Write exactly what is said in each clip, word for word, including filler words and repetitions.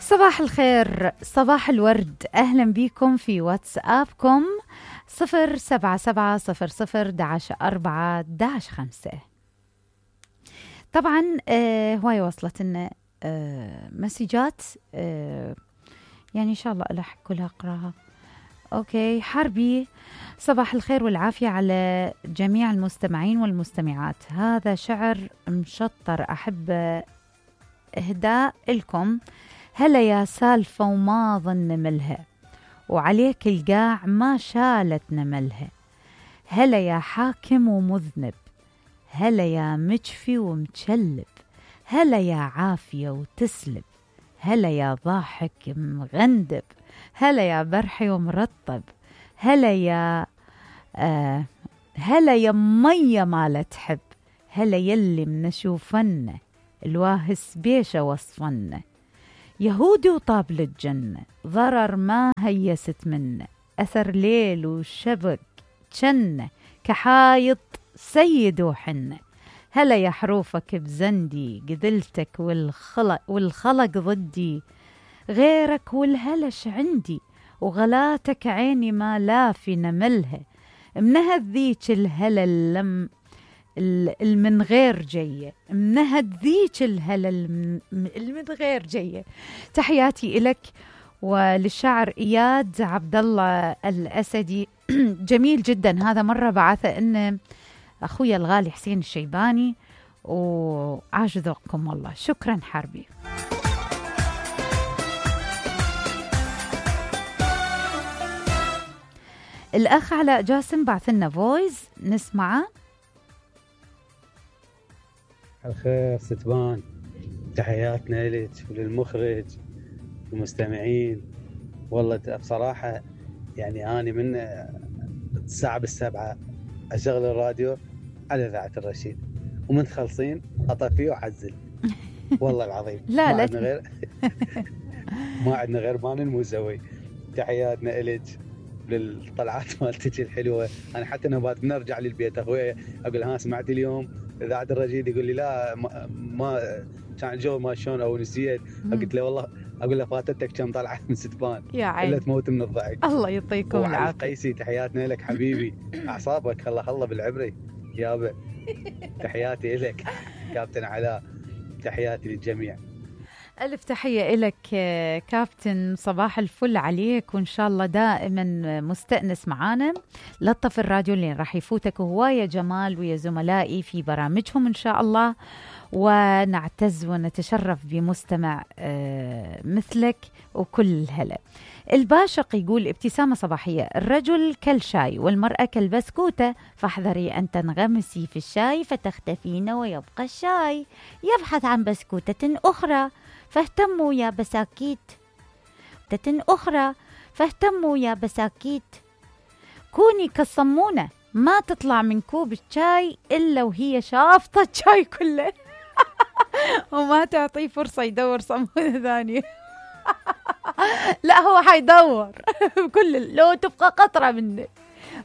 صباح الخير، صباح الورد، أهلا بكم في واتسابكم صفر سبعة سبعة صفر صفر داش أربعة داش خمسة. طبعا آه هواي وصلت لنا آه مسجات آه يعني إن شاء الله ألحق كلها أقراها. أوكي حربي، صباح الخير والعافية على جميع المستمعين والمستمعات، هذا شعر مشطر أحب إهداء لكم. هلا يا سالفة وما ظن ملها، وعليك القاع ما شالت نملها. هلا يا حاكم ومذنب، هلا يا مجفي ومتشلب، هلا يا عافية وتسلب، هلا يا ضاحك مغندب، هلا يا برحي ومرطب، هلا يا آه هلا يا مية ما لا تحب، هلا يلي منشوفنا الواهس بيشة وصفنا. يهودي وطابل الجنة ضرر ما هيست منه، أثر ليل وشبك جنة كحايط سيد وحنة. هلا يا حروفك بزندي قدلتك والخلق, والخلق ضدي، غيرك والهلش عندي وغلاتك عيني ما لا في نملها. منهد ذيك الهلا اللم المن غير جية، منهد ذيك الهلا المن غير جية. تحياتي إلك وللشاعر إياد عبد الله الأسدي. جميل جدا هذا، مرة بعثه إن أخويا الغالي حسين الشيباني، وعاش ذوقكم والله. شكرا حربي. الأخ علاء جاسم بعث لنا فويس نسمعه. الخير ستبان، تحياتنا لك وللمخرج والمستمعين. والله بصراحة يعني أنا من الساعة بالسبعة أشغل الراديو على إذاعة الرشيد، ومن تخلصين أطفيه وأعزل. والله العظيم لا ما لا عندنا غير ما عندنا غير مان الموزوي. تحياتنا إلك للطلعات مالتك الحلوة. أنا حتى نبات بنرجع للبيت أخويا أقول ها سمعت اليوم إذاعة الرشيد؟ يقول لي لا ما, ما كان الجو ما شلون أو نسيت. قلت له والله أقول له فاتتك كم طلعت من ستبان يا عين، إلا تموت من الضحك. الله يعطيكم العافية. قيسي تحياتنا لك حبيبي، أعصابك الله الله بالعبري يابا. تحياتي لك كابتن علاء، تحياتي للجميع. ألف تحية إلك كابتن، صباح الفل عليك، وإن شاء الله دائما مستأنس معانا. لطف الراديو اللي راح يفوتك هواية جمال ويا زملائي في برامجهم إن شاء الله، ونعتز ونتشرف بمستمع مثلك وكل الهلا. الباشق يقول ابتسامة صباحية، الرجل كالشاي والمرأة كالبسكوتة، فاحذري أن تنغمسي في الشاي فتختفين ويبقى الشاي يبحث عن بسكوتة أخرى، فاهتموا يا بساكيت تة أخرى، فاهتموا يا بساكيت. كوني كالصمونة ما تطلع من كوب الشاي إلا وهي شافطة الشاي كله وما تعطيه فرصة يدور صمونة ثانية. لا هو حيدور بكل، لو تبقى قطرة منه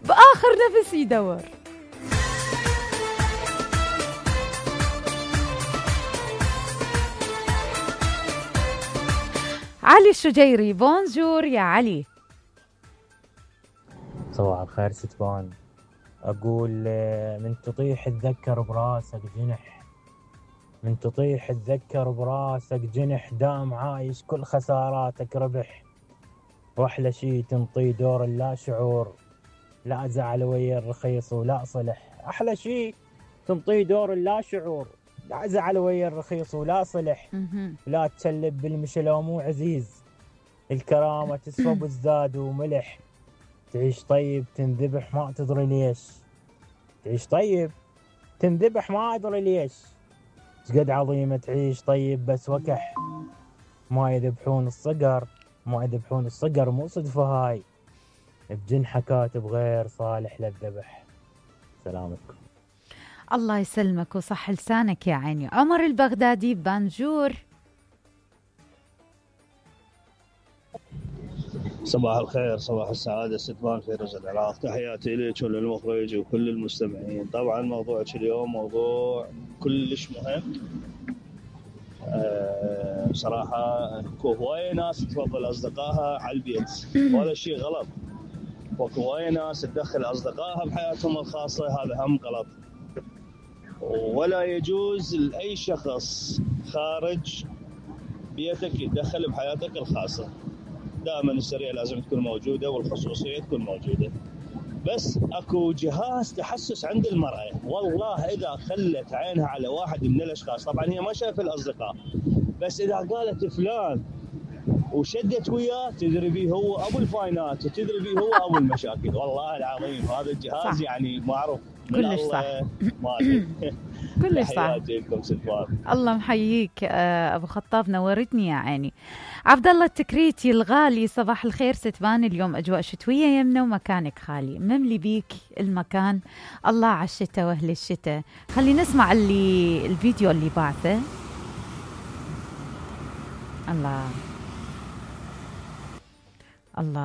بآخر نفس يدور. علي الشجيري، بونجور يا علي. صباح الخير ستبان، أقول من تطيح تذكر براسك جنح، من تطيح تذكر براسك جنح، دام عايش كل خساراتك ربح، وأحلى شي تنطي دور اللا شعور، لا زعل ويا الرخيص ولا صلح. أحلى شي تنطي دور اللا شعور، لا زعل ويا الرخيص ولا صلح، لا تسلب بالمشلة مو عزيز، الكرامة تسوى بالزاد وملح. تعيش طيب تنذبح ما تدري ليش، تعيش طيب تنذبح ما أدري ليش. شقد عظيمة تعيش طيب بس وكح، ما يذبحون الصقر ما يذبحون الصقر مو صدفة هاي، بجنحة كاتب غير صالح للذبح. سلامتكم. الله يسلمك وصح لسانك يا عيني. عمر البغدادي، بانجور. صباح الخير، صباح السعادة ستبان فيروز العراق، تحياتي لك وللمخرج وكل المستمعين. طبعا موضوعك اليوم موضوع كلش مهم. أه بصراحه اكو هوايه ناس تفضل اصدقائها على البيت، وهذا شيء غلط. واكو هوايه ناس تدخل اصدقائها بحياتهم الخاصه، هذا هم غلط. ولا يجوز لاي شخص خارج بيتك يتدخل بحياتك الخاصه. دائما السريه لازم تكون موجوده والخصوصيه تكون موجوده. بس اكو جهاز تحسس عند المراه، والله اذا خلت عينها على واحد من الاشخاص، طبعا هي ما شايفه الاصدقاء، بس اذا قالت فلان وشدت وياه تدري بيه هو ابو الفاينات وتدري بيه هو ابو المشاكل. والله العظيم هذا الجهاز صح. يعني معروف من كلش صح. ما ادري كلش صح. تحياتي لكم ستوان. الله محييك ابو خطاب، نورتني يا عيني. عبد الله التكريتي الغالي، صباح الخير ستبان، اليوم اجواء شتويه يمنا ومكانك خالي، مملي بيك المكان. الله على الشتاء واهل الشتاء. خلينا نسمع اللي الفيديو اللي بعثه. الله الله